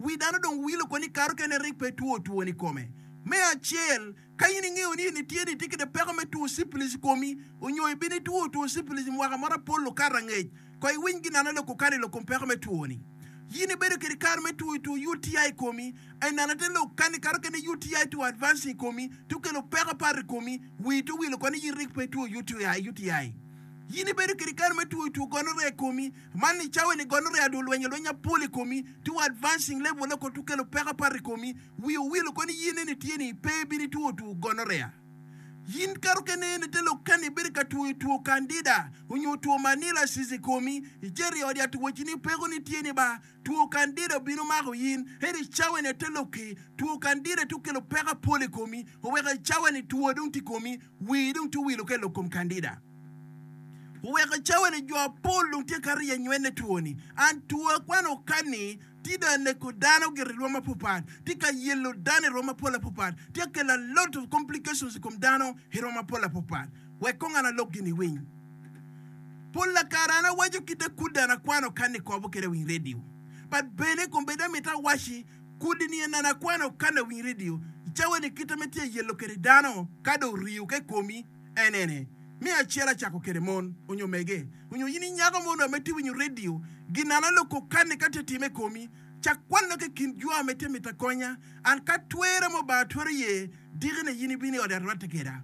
Wi dano dong wilo koni kato kene rik pe two twoni kome. Me acel, ka in ingeyo ni in itye ni itye kede peko me two cipilis i komi, onyo ibino itwo two cipilis i mwaka moro apol okato angec, ko iwiny ginana lok okalo i lok kom peko me two-ni. Yin ibedo kede kare me two two UTI i komi, enana te lok kani kato kene UTI two advancing i komi, to kelo peko apar i komi, wii to wilo koni yin rik pe itwo UTI. Yin ibedo kede kare me two two gonorrhea i komi, Man i cawa ni gonorrhea dong olwenyo lweny mapol i komi, to advancing level oko to kelo peko apar i komi, wi owilo koni yin eni tye ni pe ibino itwo two gonorrhea. Yin kato kene eni te lok kani ibedo ka twoyo two candida onyo two manilasis i komi, icito i ot yat owaci ni peko ni tye ni ba two candida obino mako yin, ento i cawa ni ate lokki two candida to kelo peko apol i komi, oweko i cawa ni two dong tye i komi, wii dong tye owilo ka i lok kom candida. Oweko cawa-ni jo apol dong tye ka riye nywene two-ni. An two akwano kani tye dong aneko dano gire i rwom mapapat, tye ka yelo dano i rwom mapol apapat, tye ka kelo a lot of complications i kom dano i rwom mapol apapat. Wek kong an alok gin iwiny. Pol lakare an awaco kite kudi an akwano kani kobo kede winy radio. But bene kombeddi amito awaci kudi ni en an akwano kani awiny radio i cawa-ni kite me tye yelo kede dano ka dong oriyo ka i komi En ene, me acel acako kede mon onyo mege, onyo in inyako mo onongo ame tye winyo radio, ginana lok okanne ka tye time i komi, cak kwanna ki kin jo ame tye mito akonya, an ka twere mo Obanga twero ye, dikine yin ibino i ode arwatte keda.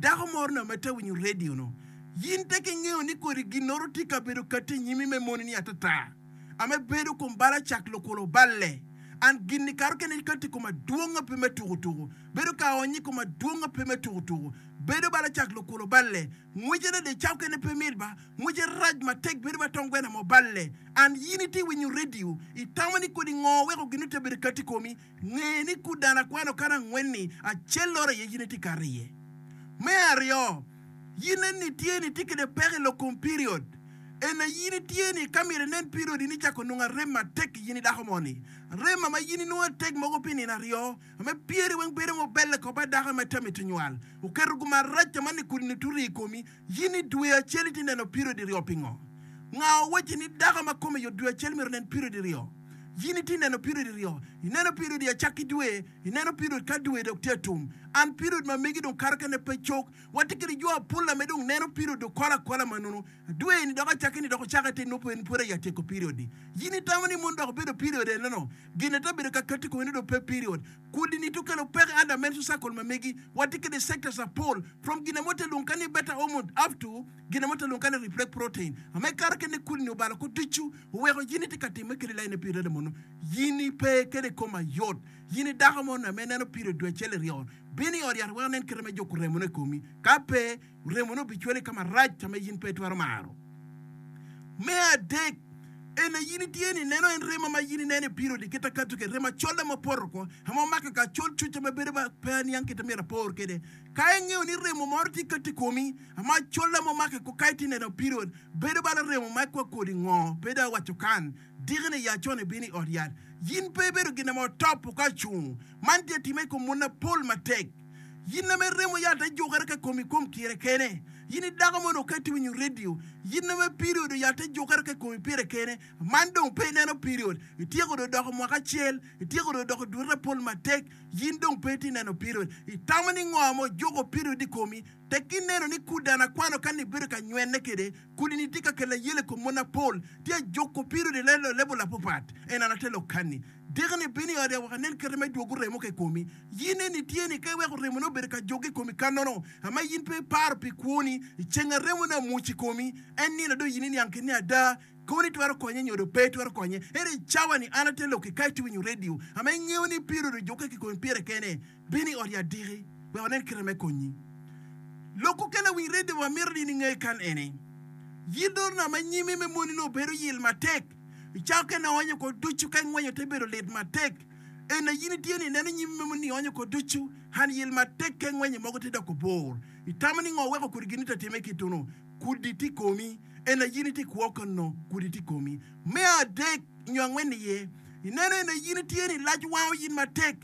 Dako mo onongo ame tye winyo radio no, yin tek ingeyo ni kodi ginoro tye kabedo kati i nyimi me moni ni atata, ame bedo kom bal acak lokolo oballe, an ginni kato kene kati i koma dwonga pe me tuku tuku. Bedo ka ony i kom adwonga pe me tuku tuku. Bedo bala cak lukulo balle. Ngwece ne de cawkene pe mit ba. Ngwece rac matek bedo ba tong gwena mo balle. An yin iti winyo radio, itamo ni kodi ngo weko gin ote bedo kati komi? Nge ni ku dano akwano kara angwen-ni acel loro aye yin iti kato iye. Me aryo, yin eni tye ni itye kede peko i lok kom period. Ena yin itye ni ka myero inen period in icako nongo arem matek i yin i dako moni. Arem ma yin inongo atek mogo pi nino aryo. Ame pyeri weng bedo ma obelle ko ba dako ma tami to nywal. Oketo gum arac ma ni kudi ni turi i komi, yin i dwe acel iti neno period iryo pingo? Nga owacci ni dako ma kome yot dwe acel myero onen period iryo? Yin iti neno period iryo, ineno period i acakki dwe, ineno period ka dwe dok tye atum. An period ma megi dong kato kene pe cok. Watye kede jo apol ame dong neno period okol akola ma nunu. Dwe ni dok acakki ni dok ocake te nongo en pwod aye atyeko period ni. Yin itamo ni mon dok obedo period enono? Gin ate bedo ka kati komi ni dong pe period. Kudi ni to kelo peko under menstrual cycle ma megi. Watye kede sectors apol from gin amo te lwongo ka ni beta hormone up to gin amo te lwongo ka ni reflect protein. Ame kare kene kudi ni obalo ko ducu oweko yin itye ka time kede line period mono. Yin ipe kede kom ayot. Yin i dako mo ame neno period dwe acel iryo. Bin i ot yat wek anen kite me juko remo ne komi. Ka pe, Remone obicwali ka marac ka ma in pe itwero maro. Me adek, en aye in itye ni neno en remo ma in ineno i period i kite akato kwede, remo acola ma opoto oko, ma omako ka acol cuca ma bedo ma pe aniang kite myero apor kwede. Ka ingeyo ni remo moro tye kato i komi, ma acola ma omako oko ka itye neno period, bedo bala remo ma kwa kodi ngo, pe dong awaco kan, diki ni ya con ibino i ot yat. In pe ibedo gin ma otopo ka ocung. Man tye atime i kom mon mapol matek. Yin ame remo yat ejukere ka komi kom kire kene. Yin i dako mo dong ka itye winyo radio. Yin ame period yat ejukere ka komi pire kene. Man dong pe ineno period. Ityeko dong doko mwaka acel, ityeko dong doko dwete apol matek, yin dong pe itye neno period. Itamo ni ngo ma ojuko period i komi? Tek ineno ni kudana akwano ka ni ibedo ka nywene kede, kudi ni tye ka kelo ayela i kom mon apol, tye ajuko period i level apapat. En an ate lok kani. Diki-ni bino i ode wek anen kite me dwogo remo ka i komi. In eni tye ni ka iweko remone obedo ka joge i komi kannono, ama in pe iparo pi kwoni, i ceng a remone amwoc i komi, en nino dong in iniang kit ni ada koni twero konye nyo dong pe twero konye. Ento i cawa-ni an atye lok-ki ka itye winyo redio, ama ingeyo ni period ojukke ki komi pire kene, bin i ot yat diki wek wanen kite me konyi. Lok okene winy redio wa mito ni in inge kan eni. Yidorna ma nyime me moni nongo bedo yil matek. I cakke ne oonyo ko ducu ka ingwenyo te bedo lit matek. En aye in itye ni ineno nyim memo ni ionyo ko ducu, han yel matek ka ingwenyo mogo te doko bor. Itamo ni ngo weko kodi gini te time kitunu? Kudi tye komi. En aye in itye kwo kono kudi tye komi. Me adek nyo angwen iye, ineno en aye in itye ni lac wango yin matek.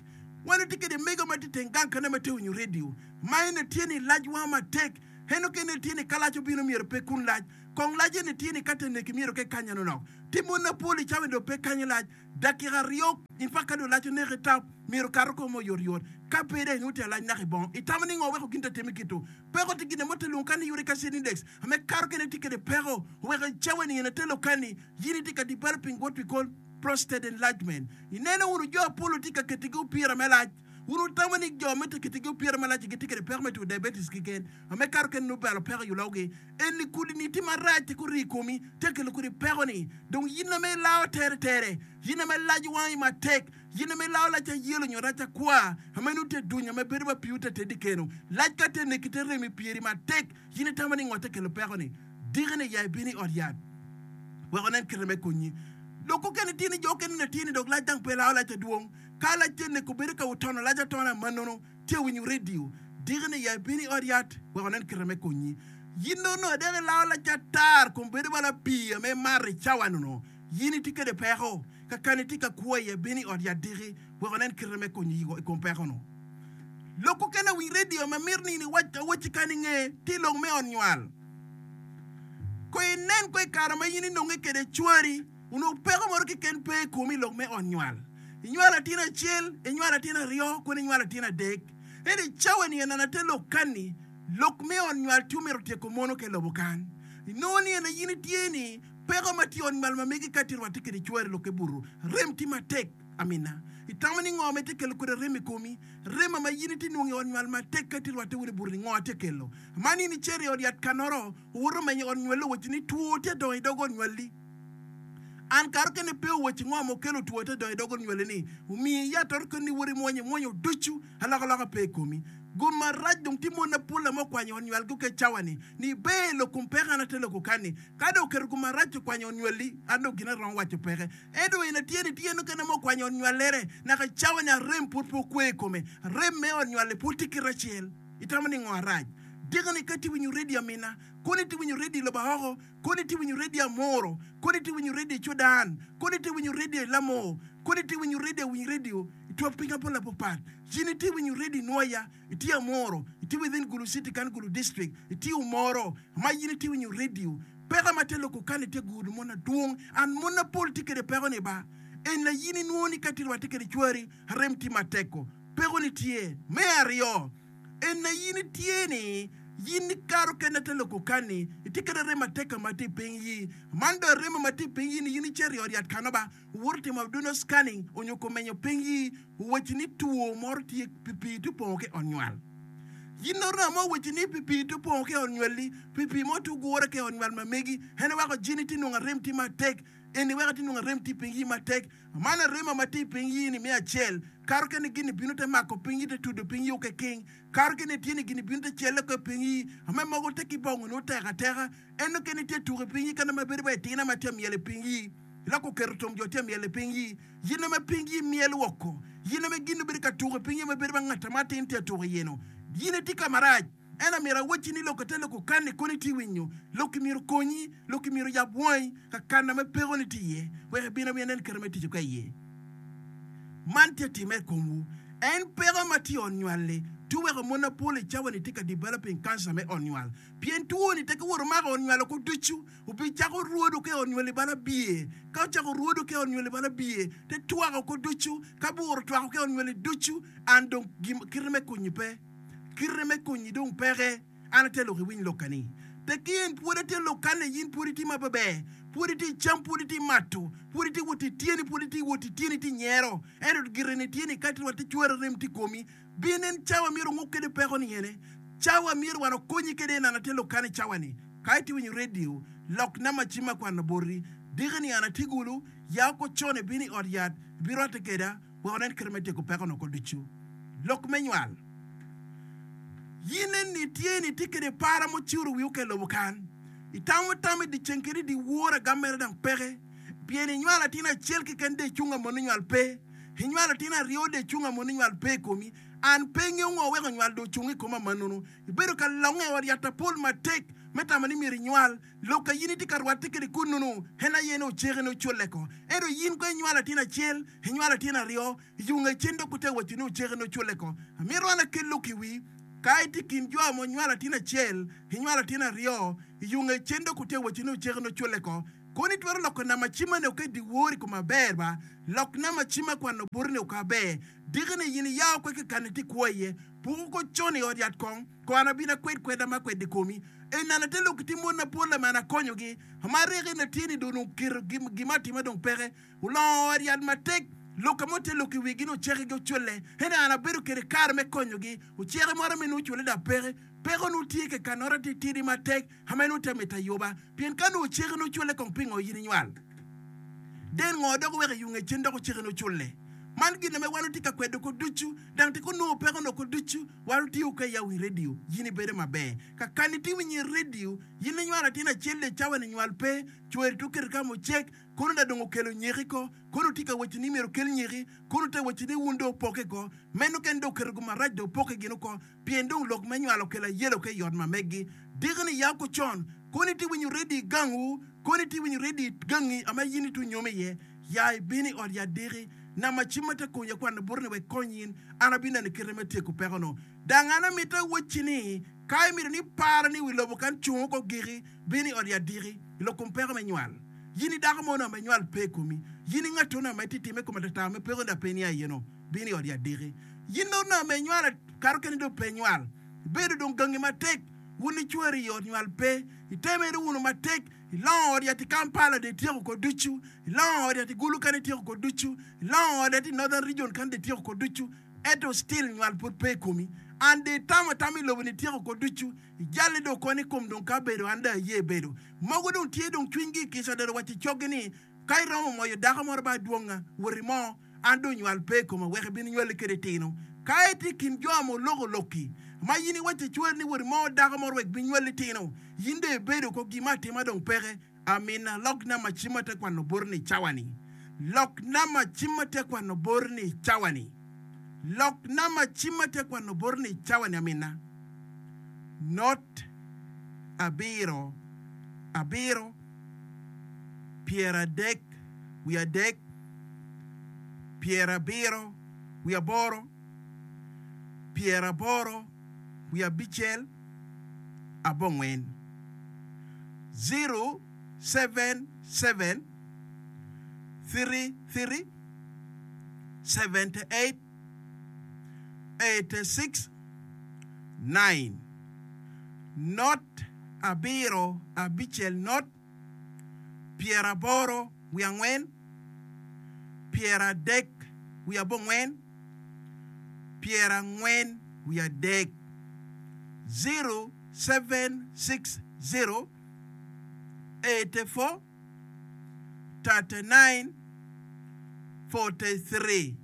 Wan watye kede mego ma tye teng gang kene ma tye winyo radio ma en tye ni lac wango matek. En okene tye ni ka lac obino myero pe kun lac. Kong lac eni tye ni ka te neki myero ke kanya nonok. Ti mon mapol i cawa ni dong pe kanyo lac. Dakika aryo in fact ka dong lac oneki tap myero okato kome oyot yot. Ka pe dong inongo tye alac naka i bongo. Itamo ni ngo weko gin te timi kitu? Peko tye gine mo te lwongo kani uric acid index ame kato kene tye kede peko oweko i cawa ni ene te lokani yin itye ka developing what we call prostate enlargement. Ineno wunu jo apol tye ka ketigi opira me lac. Wun wutamo ni jo me te ketigi opira me lac gitye kede peko me two diabetes keken ame kato kene nongo balo peko i ologi. Eni kudi ni tye marac tye kori i komi tye kelo kodi peko ni dong yin ame ilao tere tere yin ame lac wangi matek yin ame ilao lac ayelo nyo rac akwar ame nongo tye duny ame bedo ma piwu te tedi keno lac ka te neki te rem i pyeri matek yin itamo ni ngo te kelo peko ni diki ni ya ibino i ot yat wek onen kite me konyi lok okene tye ni jo okene ni tye ni dok lac dang pe lao lac adwong ka lac te neko bedo ka otono lac atona manono Tye winyo redio diki ni ya ibino i ot yat wek onen kite me konyi. Yin nongo adek ilao lac atar kun bedo bala pii ame imato i cawa nono. Yin itye kede peko kakani itye ka kwo iye bino i ot yat diki wek onen kite me konyi i kom peko no. Lok okene winy redio ma mito ni in iwac awacci kany inge tye lok me ot nywal. Ko inen ko i kare ma in inonge kede cwari. Onongo peko moro keken pe i komi i lok me ot nywal. Inywalo atin acel, inywalo atin aryo, kono inywalo atin adek. Ento i cawa-ni en ate lok kanni, lok me ot nywal tye omito tyeko mono ka i lobo kan. Inongo ni en aye in itye ni peko ma tye i ot nywal ma megi ka tye rwatte kede cwari lok ke buto, rem tye matek. Amina. Itamo ni ngo ma itye kelo kwede rem i komi? Rema ma in itye nongo i ot nywal matek ka itye rwatte wunu i buto ni ngo atye kelo? Man in icito i ot yat kanoro, owoto menyo i ot nywal owacci ni two tye adongo i dog ot nywalli. An kare okene pe owacci ngo ma okelo two te donyo i dog onywali ni omiyi yat ot koni niwot imwonyo imwonyo ducu alokaloka pe i komi. Gum marac dong tye mon mapol ame okwanyo onywal gi oke cawa ni ni ber lok kom peke an ate loko kani ka dong oketo gum marac okwanyo onywali an dong gin aromo waco peke ento en atye ni tye en okene ma okwanyo onywalere naka cawa ni arem pwod pe okwe i kome arem me onywali pwod tye kite acel itamo ni ngo arac diki ni ka itye winyo radio amina koni itye winyo radio i lobo aoko Koni itye winyo redio Amoro, koni itye winyo redio i Cudan, koni itye winyo redio i Lamor, koni itye winyo redio awiny redio i twok piny apol apapat. Cin itye winyo redio i Nwoya, itye Amoro, itye within Gulu City kan Gulu District, itye Omoro, ma in itye winyo redio. Peko ma te loko kani tye gudo mon adwong and mon apol tye kede peko ni ba. En la in inwongo ni ka itye rwate kede cwari, arem tye matek-ko. Peko ni tye. Me aryo. En aye in itye ni, yin ikato kene te loko kani, itye kede remo atek ma tye i piny yi. Man dong remo ma tye i piny yi ni yin icito i ot yat kano ba, wuwoto timo abdominal scanning onyo kumenyo piny yi, owacci ni two moro tye pi pii tye opongo ki ot nywal. Yin nongo mo owacci ni pi pii tye opongo ki ot nywalli, pi pii mo tye ogure ki ot nywal ma megi, en weko jini tye nongo arem tye matek, eni weko tye nongo arem tye i piny yi matek. Man arema ma tye i piny yi-ni me acel, kato kene gin-ni bino te mako piny yi te tudo piny yi oke king, kato kene tye ni gin-ni bino te celle oko i piny yi, ame mogo te ki bongo nongo tek ateka, ento kene tye tuko i piny yi kene ma bedo wa itina ma tye myel i piny yi, loko oketo tom jo tye myel i piny yi, yin ame piny yi myel woko, yin ame gin-ni bedo ka tuko i piny yi ame bedo wa ngat ma atin tye tuko iye nu, yin itye ka marac. Ento myero awacci ni lok ate lok okanni kono itye winyo, lokki myero okonyi, lokki myero oyab wangi ka kana ma pekoni tye iye, wek ibin awinya nen kite me tic ka iye. Man tye timme i komwu. En peko ma tye i ot nywal-li tye weko mon mapol i cawa-ni tye ka developing kanca me ot nywal. Pien two-ni tek iwoto mako ot nywal oko ducu, obicako rwodo ka i ot nywal-li bala biye. Ka ocako rwodo ka i ot nywal-li bala biye, te twako oko ducu. Ka bur otwako ka i ot nywal-li ducu, an dong kite me konyi pe. Kite me konyi dong peke. An atye lok iwiny lokka ni. Tekki in pwod atye lokka ni in pwod itye maber, pwod itye cam, pwod itye mato, pwod itye wot ityeni, pwod itye wot ityeni itye nyero. Ento gire ni tye ni ka itye rwatte cwero rem tye komi. Bin en cawa myero onguk kede peko ni ene. Cawa myero wan okonyi kede en an atye lokka ni cawa ni. Ka itye winyo radio, lok namba cim ma kwano boti. Diki ni an atye gulu, ya oko con ibino i ot yat, ibirwatte keda. Wek onen kite me tyeko peko-nu oko ducu. Lok me nywal. In eni itye ni itye kede para mucuro wi oke lobo kan. Itamo tam i dyeceng kede i dyewor agam mere dang peke. Pien inywalo atin acel keken de icung amon nywal pe. Inywalo atin aryo de icung amon nywal pe i komi. An pe ingeyo ngo weko nywal dong ocung i koma manunu. Ibedo ka longe i ot yat apol matek me tamo ni myero inywal. Lok ka in itye ka rwatte kede kunnu-nu, en aye ni oceke ni oculle ko. Ento in kono inywalo atin acel, inywalo atin aryo, i yo nge cen dok ote waco ni oceke ni oculle ko. Amito an akel lok i wi, ka itye i kin jo ma onywalo atin acel, inywalo atin aryo. I yo nge cen dok otye waco ni oceke nongo culle ko. Kono itwero loko namba cimma ni oket dyewor i kom aber ba? Lok namba cimma kwano boti ni oko aber. Diki ni in iya okwe kekani itye kwo iye. Puku ko con i ot yat kong, ko an abino akwed kweda ma akwedde i komi. Enana te lok ki mon mapol ame an akonyogi. Ama ryeko eni atye ni dong oketo gima atima dong peke. Olongo ot yat matek, lok mo te lok i wigi ni oceke gi oculle. Ento an abedo kede kare me konyogi. Oceke moro ame nongo oculle dok peke. Peko nongo tye kekannore atitidi matek ame nongo te mito ayuba. Pien ka nongo oceke nongo oculle kong pingo in inywal? Den ngo dok oweko iyunge cen dok oceke nongo oculle? Man gin ame wan watye ka kwedo ko ducu, dang tye ka nongo peko noko ducu. Wan otiyo ka iya wi redio, yin ibedo maber. Ka kan itye winyo i redio, yin inywalo atin acel i cawa ni nywal pe, cweri to oketo ka mucek, kono da dong okelo nyeki ko, kono tye ka waco ni myero okel nyeki, kono te waco ni wun dong opoke ko, meno kene dong oketo gum marac dong opoke gin oko, pien dong lok me nywal okelo ayelo ka i ot ma meggi. Diki ni ya ko con, kono itye winyo redio i gangwu, kono itye winyo redio i gangi ama yin itye onyomi iye. Ya ibino i ot yat diki, nama cim ma te konya kwano boti ni wek kony in, an abineno kite me tyeko peko-nu. Dang an amito awacci ni, ka imito ni ipara ni wi lobo kan cung oko giki, bin i ot yat diki, i lok kom peko me nywal. Yin i dako mono ame nywal pe i komi, yin i ngattono ame titime i kom atata me peko-ni dok pe inia iye-nu, bin i ot yat diki. Yin dong onongo ame inywal kato keni dong pe inywal, ibedo dong gangi matek, wun icweri i ot nywal pe, itemere wunu matek, Ilongo ot yat i Kampala dong ityeko ko ducu, ilongo ot yat i Gulu kany ityeko ko ducu, ilongo ot yat i Northern Region kany dong ityeko ko ducu, ento still nywal pud pe i komi. And dong itamo atama i lobo ni ityeko ko ducu, ijalle dong koni kom dong ka bedo an dong aye bedo. Mogo dong tye dong cwinygi i kica dong owaco i coggi ni ka iromo moyo dako moro ba adwonga, wot imo. An dong nywal pe i koma wek ibin inywalli kede tino. Ka itye i kin jo ma oloko lokki, ma in iwaco icwer ni wot imo dako moro wek binywalli tino, in dong ibedo ko gin me atima dong peke. Amina. Lok namba cim ma te kwano boti ni i cawa-ni. Lok namba cim ma te kwano boti ni i cawa-ni. Lok namba cim ma te kwano boti ni i cawa-ni amina. Not abiro abiro pyeradek wiye adek. pyerabiro wiye aboro, pyeraboro wiye abicel, abongwen. 077 33 78 86 9 Not abiro abicel not pyeraboro wiye angwen, pyeradek wiye abongwen, pyerangwen wiye adek, 0760 84 39 43.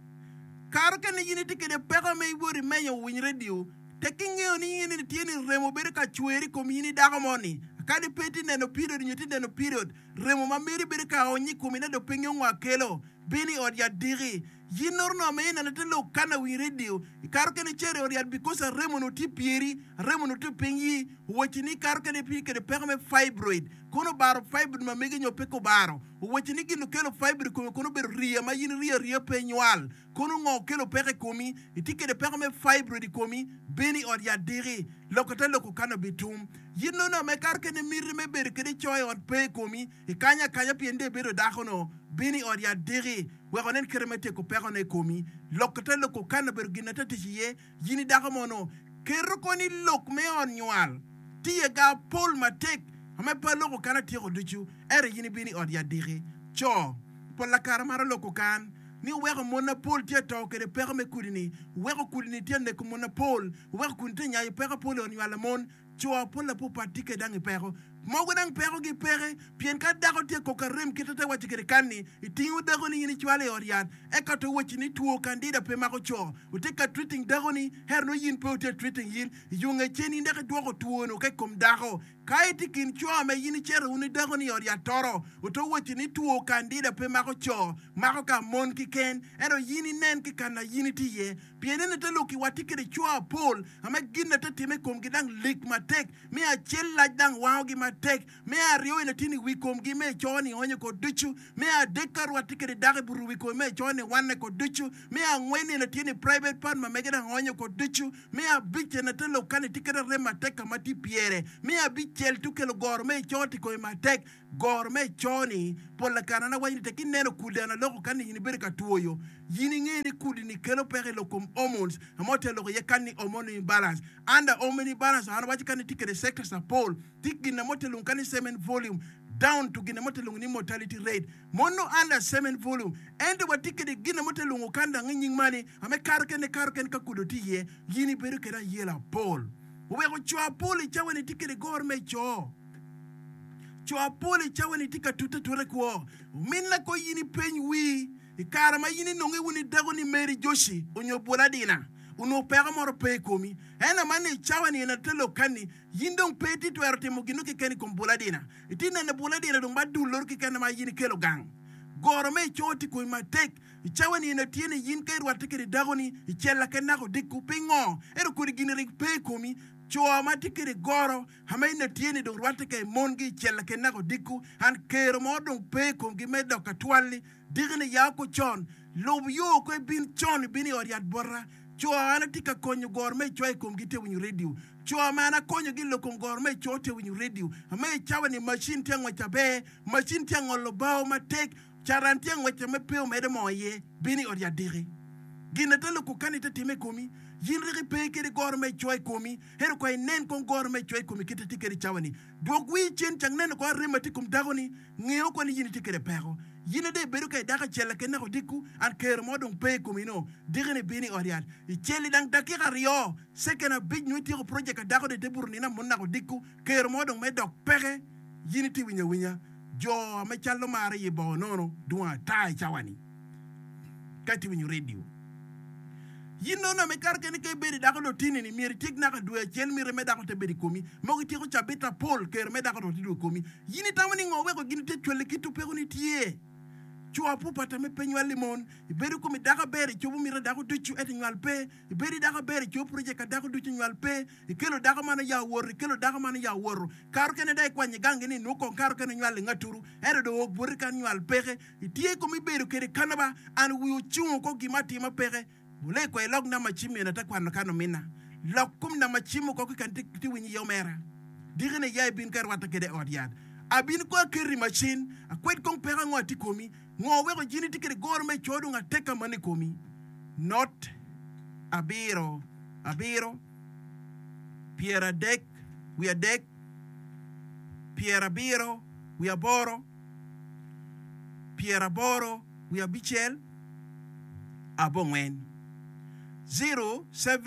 Kare kene in itye kwede peko me iwot imenyo winy redio, Tek ingeyo ni in itye ni remo bedo ka cwer i kom in i dako mo ni, kadi pe itye neno period nyo itye neno period, remo ma meri bedo ka ony i komi na dong pe ingeyo ngo akelo, bino i ot yat diki. Yin nongo onongo ma ineno te lok kana wi radio, ikato kene icito i ot yat because aremo onongo tye pyeri, aremo onongo tye piny yi, owacci ni ikato kene itye kede peko me fibroid, kono obaro fibroid ma megi nyo pe kobaro, owacci ni gin okelo fibroid i komi kono obedo riya ma yin iriyo ariya pe inywal. Kono ngo okelo peko i komi? Itye kede peko me fibroid i komi? Bino i ot yat diki. Loko te loko kano bitum. Yin nongo me kato kede miti me bedo kede co i ot pe i komi. Ikanyo akanya pien dong ibedo dako no. Bino i ot yat diki wek onen kite me tyeko peko ne i komi. Loko te loko kano obedo gin na te tic iye. Yin i dako mono, keto koni lok me ot nywal tye ga pol matek ame pe aloko kan atyeko ducu, ento yin ibino i ot yat diki. Co pol lakara maro loko kan ni oweko mon mapol tye ato kede peko me kudi ni, oweko kudi ni tye aneko mon mapol, oweko kudi ni tye anyayo peko apol i ot nywal lamon. Co apol apupat tye kede dang i peko. Mogo dang peko gi peke, pien ka dako tye koko arem kite te waco kede kan ni, itingo dako ni in icwalo i ot yat, eka to waci ni two kandida pe mako co. Wutye ka treating dako ni, ento nongo yin pe wutye treating yin. I yo nge cen in dok idwoko two nu ka i kom dako. Ka itye i kin co me yin icito wun i dako ni i ot yat toro, oto waci ni two kandida pe mako co, mako ka mon kiken. Ento yin inen ki kan na yin itye iye. Pien en ite lok i watye kede co apol ame gin ate time i komgi dang lik matek, me acel lac dang wangogi matek. matek. Me aryo en aye tye ni wi komgi me eco-ni onyo ko ducu. Me adek ka rwatte kede dako i buto wi kome me eco-ni wanne ko ducu. Me angwen en aye tye ni private part ma mege dang onyo ko ducu. Me abic en aye te lok kani tye kede arem matek ka ma tye pyere. Me abicel tye okelo goro me eco tye i kome matek. Goro me eco-ni pol kare an awaco ni tek ineno kudi an aloko kani in ibedo ka twoyo yin inge ni kudi-ni kelo peko i lok kom hormones ma ote loko iye kani ni hormone imbalance. Under hormone imbalance an awaco kani tye kede sectors apol. Tye gin mo te lung kani semen volume down to gin mo te lung ni mortality rate mono under semen volume ento wa tye kede gin mo te lungo kan dang inying mani ame kato kene kato kene ka kudo tye iye yin ibedo kede ayela apol oweko co apol i cawa ni tye kede goro me co co apol i cawa ni tye ka tute atuta i kwo omin la ko yin ipeny wii i kare ma yin inongo iwun idako ni Mary Joshi onyo Bwoladina onongo peko moro pe i komi ento man i cawa ni en te lok kani In dong pe itye twero timo gin mo keken i kom buladina. Itye neno buladina dong ma dul loro keken ma in ikelo gang. Goro me ico tye komi matek. I cawa ni eno tye ni in ka irwatte kede dakoni i cella ke naka odiko. Pingo? Ento kodi gini rik pe i komi. Co ma tye kede goro ama in atye ni dong rwatte ke mongi i cella ke naka odiko and kero mo dong pe i komgi me dok ka twalli. Diki-ni ya oko con. Lub yo oko ibin con ibin i ot yat bota. Co an atye ka konyo goro me icoya i komgi tye winyo redio. Co ma an akonyogi i lok kom goro me ico tye winyo redio. Ame i cawa ni macin tye angwec aber, macin tye angolo bao matek, caran tye angwec ame pe omedo moo iye, bin i ot yat diki. Gin ate loko kani te time i komi, yin rik ipe kede goro me ico i komi, ento kong inen kong goro me ico i komi kite tye kede i cawa ni. Dwok wii cen cak neno kong arem ma tye i kom dako ni, ngeo kong ni yin itye kede peko. Yin ade ibedo ka idako acel laken naka odiko, an kero mo dong pe i komi no, diki ni bin i ot yat. Icel i dang dakika aryo, Second abic nyo ityeko project ka dako dong ite buto nino amon naka odiko kero mo dong me dok peke yin iti winyo awinya jo me calo maro iye bongo nono dwong ata i cawa ni ka iti winyo radio yin nono ame kare kene ka ibedo i dako dong tini ni myero ityek naka dwe acel miti me dako te bedo i komi mogo ityeko cabit apol kero me dako dong te dwogo i komi yin itamo ni ngo weko gin te cwali kit peko ni tye co apupa tame pe nywal i mon ibedo komi dako aber icobo miti dako ducu ento nywal pe Ibedo i dako aber, icobo project ka dako ducu nywal pe. Ikelo dako man oya owoto, ikelo dako man oya owoto. Karo kene dong ikwanyo igangi ni inwong kong karo kene onywal ingaturu, ento dong ook boti kan nywal peke. Itye kom ibedo kede kano ba, an wi ocungo ko gima atima peke. Wule kwe ilok namba cim mene ate kwano kan omina. Lok kom namba cim oko kikan ti winyo iye omera. Diki ni ya ibin ka irwata kede i ot yat. Abin ko aketo i macin, akwed kong peko ango atye komi. Ngo weko jini tye kede goro me co dong ateka man i komi? Not abiro abiro, pyeradek wiye adek, pyerabiro wiye aboro, pyeraboro wiye abicel, abongwen. 07.